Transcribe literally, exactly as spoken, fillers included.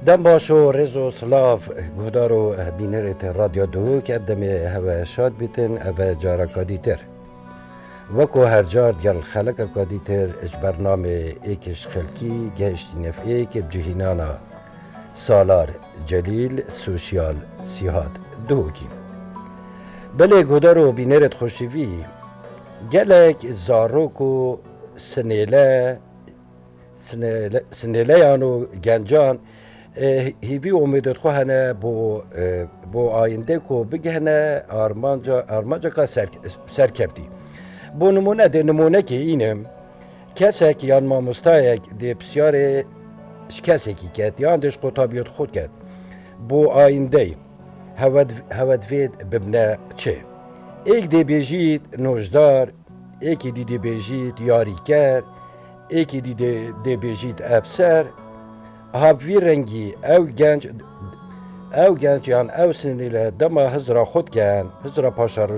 Dem baş û rêz û silav, guhdar û bînerêt Radyo Duhok, ev demê hewe şad bîtin, ev e careka dîtir. Weko her car digel xelekeka dîtir ji bernamê Êk ji Xelkî gehiştîne êk bi cihînana Salar Celîl, Sosyal Sîhat Duhokî. Belê guhdar û bînerêt xweşivî, gelek zarok û sinêle, sinêle, sinêleyan û gencan, e, hîvî û umêdêt xwe hene bo, e, bo ayîndê ku bigihine armanca, armanceka ser, serkevtî. Bo nimûne dê nimûnekê înim, kesek yan mamostayek dê pisyarê ji kesekî ket, yan dê ji qutabiyêt xwe ket. Bo ayîndey, hewe div-, hewe divêt bibne çi? Êk dê bêjît nojdar, êkî dî dê bêjît yarîker, êkî dî dê, dê bêjît efser. Ha bi vî rengî ew genc, ew genc yan ew sinêle dema hizra xwe diken, hizra paşeroja